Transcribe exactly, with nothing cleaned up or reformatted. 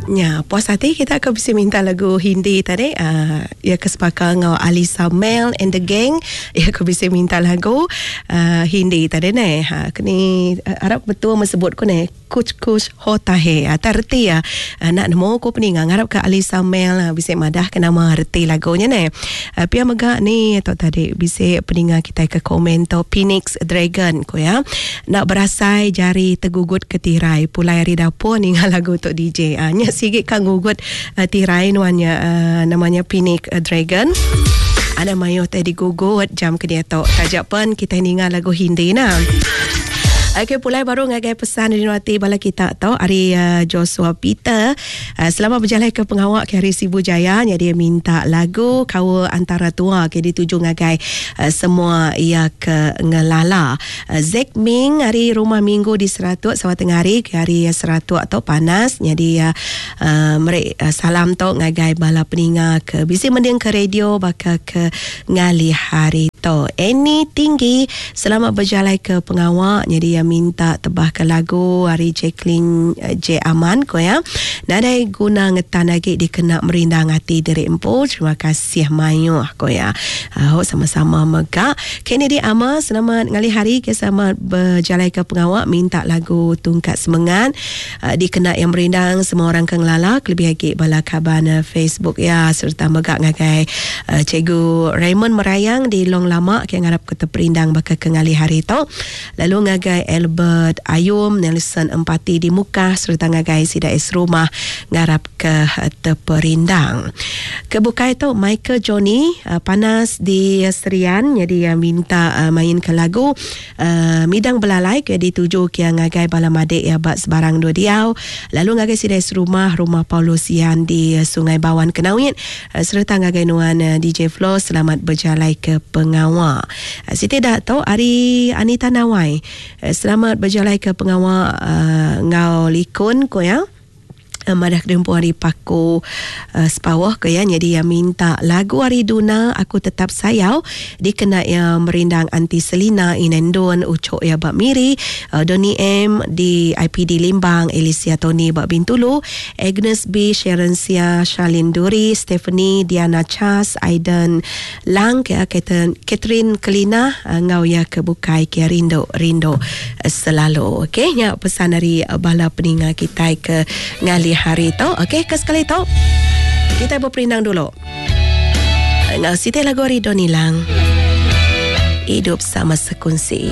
Nya, puas hati kita ke bisi minta lagu Hindi tadi. Uh, ya ke sepaka ngau Alisa Mel and the gang. Ya ke bisi minta lagu uh, Hindi tadi ne. Ha, kini uh, harap betul mesebut ku ne. Kuch Kuch Hota Hai. Ha, tak reti ya. Uh, nak nemu ku peninga ngarap ke Alisa Mel uh, bisi madah ke nama reti lagunya ne. Uh, pia mega ni atau tadi bisi peninga kita ke komen to Phoenix Dragon ku ya. Nak berasai jari tergugut ke tirai pulai hari dapur ninga lagu tok D J. Uh, nya sigit kan gugut uh, tirai nuannya uh, namanya Phoenix uh, Dragon. Ada mayo tadi gugut jam ke dia tok. Tajak pun kita ninga lagu Hindi nah. Okey, pulai baru ngagai pesan dari Nuati bala kita tau hari uh, Joshua Peter. Uh, selamat berjalan ke pengawak ke hari Sibu Jaya. Dia minta lagu Kawa Antara Tua ke dituju ngagai uh, semua ia ke ngelala. Uh, Zack Ming hari rumah minggu di Seratuk Sawah Tengah hari ke hari Seratuk atau panas. Jadi uh, uh, mereka uh, salam tau ngagai bala peninga ke bisi mending ke radio baka ke ngali hari tu. Annie Tinggi selamat berjalan ke pengawak. Jadi uh, minta tebah ke lagu hari Jacqueline uh, J Aman ko ya. Nadai guna ngetan lagi dikena merindang hati diri empu. Terima kasih mayuh ko ya. Uh, sama-sama mega. Kennedy Ama selamat ngali hari ke selamat berjalan ke pengawak minta lagu Tungkat Semengat uh, dikena yang merindang semua orang ke ngelala kelebih lagi bala kaban uh, Facebook ya serta mega ngagai uh, Cikgu Raymond Merayang di Long Lama ke ngarap ke terperindang bakal ke ngali hari tu. Lalu ngagai Albert Ayum, Nelson Empati di Mukah serta ngagai Sida Es Rumah ngarap ke terperindang. Kebukai tu Michael Johnny uh, panas di Serian jadi uh, minta uh, main ke lagu uh, Midang Belalai ke dituju ke ngagai bala madik ya bak sebarang dua diau. Lalu ngagai Sida Es Rumah Rumah Paulus Yan di Sungai Bawan Kenawit uh, serta ngagai nuan uh, D J Flo selamat berjalai ke pengawak. Uh, Siti dah tahu hari Anita Nawai uh, selamat berjalai ke pengawak uh, ngau likun ko ya. Madah kedempu hari Paku uh, Sepawah ke ya. Jadi yang minta lagu hari Duna Aku Tetap Sayau dikena yang merindang Anti Selina Inendon Ucok ya bak Miri uh, Doni M di I P D Limbang, Alicia Tony bak Bintulu, Agnes B, Sharon Sia, Charlene Duri, Stephanie, Diana Chas, Aiden Lang ya, Catherine Kelina uh, ngau ya ke bukai ke rindu rindu uh, selalu. Okey nya pesan dari uh, bala peninga kita ke ngali hari tu. Okey, ke sekali tu kita berperindang dulu. Ngau siti lagu hari Doni Lang. Hidup Sama Sekunsi.